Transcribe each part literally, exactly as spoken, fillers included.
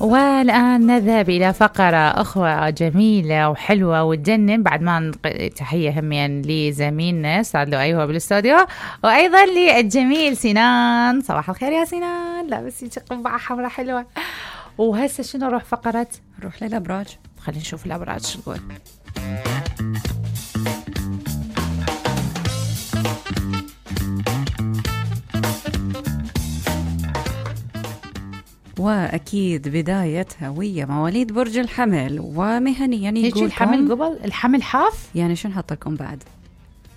والآن نذهب إلى فقرة أخرى جميلة وحلوة وتجنن بعد ما نق... تحية هميا لزميلنا سعد له أيوة بالاستوديو، وأيضا للجميل سنان. صباح الخير يا سنان، لا بس يجي قبعة حمراء حلوة. وهسه شنو نروح فقرة؟ نروح للأبراج. خلينا نشوف الأبراج شو تقول. وأكيد بدايتها ويا مواليد برج الحمل، ومهنيا يقول الحمل قبل الحمل حاف، يعني شو نحط لكم بعد؟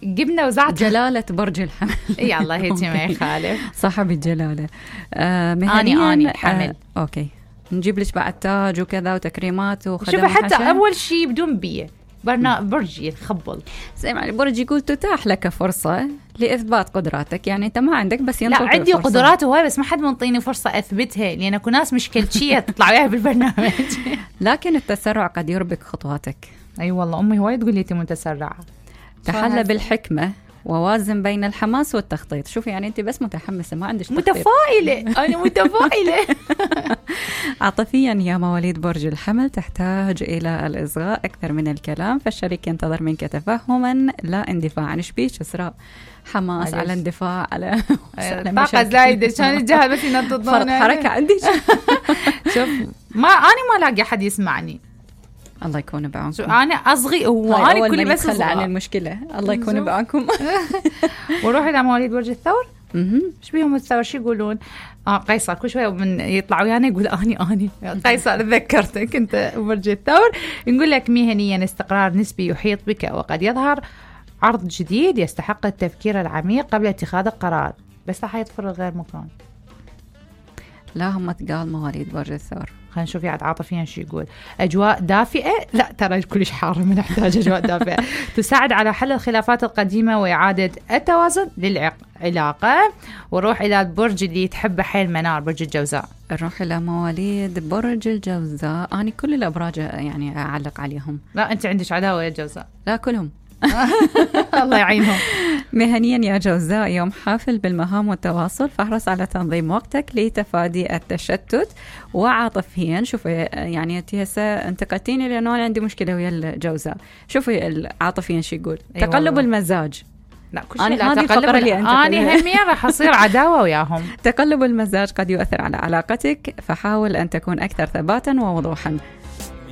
جبنا وزعت جلالة برج الحمل. يا الله هيك ما يخالف، صاحب الجلالة. آه مهنيا أني أني حمل. آه أوكي، نجيب لك بعد تاج وكذا وتكريمات وخدمات. شوف حتى حشا. أول شيء بدون بيه برنا برجي يخبل زي ما البرج يقول تتاح لك فرصة لإثبات قدراتك، يعني أنت ما عندك بس ينطق. لا عندي قدرات وهاي، بس ما حد منطيني فرصة أثبتها، لأن أكو ناس مشكلتشية تطلع وياها بالبرنامج. لكن التسرع قد يربك خطواتك. أي أيوة والله أمي هواي تقول لي أنت متسرعة. تحلى بالحكمة ووازن بين الحماس والتخطيط. شوفي يعني أنت بس متحمسة ما عندش تخطيط. متفائلة أنا متفائلة. عاطفيا يا مواليد برج الحمل تحتاج إلى الإصغاء أكثر من الكلام، فالشريك ينتظر منك تفهما لا اندفاعا. شبيش إسراء؟ حماس على اندفاع على طاقة زايدة شان الجهل بس ينطط فرط حركة عندي. شوف ما أنا ما لاقي حد يسمعني. الله يكون بعونكم. أنا أصغي وأنا كلي بس أصغي عن المشكلة. الله يكون بعونكم. وروح إلى مواليد برج الثور. إيش بيهم الثور شو يقولون؟ آه قيصر كل شوية من يطلعوا يعني يقول أني أني قيصر ذكرتك أنت برج الثور. نقول لك مهنيا استقرار نسبي يحيط بك، وقد يظهر عرض جديد يستحق التفكير العميق قبل اتخاذ القرار، بس راح يطفر غير مكان. لا هم تقال مواليد برج الثور. خلينا نشوف يعني عاطفيا شو يقول. أجواء دافئة، لا ترى كلش حارة من نحتاج أجواء دافئة تساعد على حل الخلافات القديمة وإعادة التوازن للعلاقة. وروح إلى البرج اللي تحبه حيل منار، برج الجوزاء. نروح إلى مواليد برج الجوزاء. أنا كل الأبراج يعني أعلق عليهم. لا أنت عندك عداوة يا الجوزاء. لا كلهم. الله يعينهم. مهنيا يا جوزاء يوم حافل بالمهام والتواصل، فاحرص على تنظيم وقتك لتفادي التشتت. وعاطفيا شوفي يعني انت هسه انتقدتيني لانه انا عندي مشكله ويا الجوزاء. شوفي عاطفيا شو يقول؟ أيوة تقلب والله. المزاج. لا كل شيء لا تقلب. أنا همي راح أصير عداوة وياهم. تقلب المزاج قد يؤثر على علاقتك، فحاول أن تكون أكثر ثباتا ووضوحا.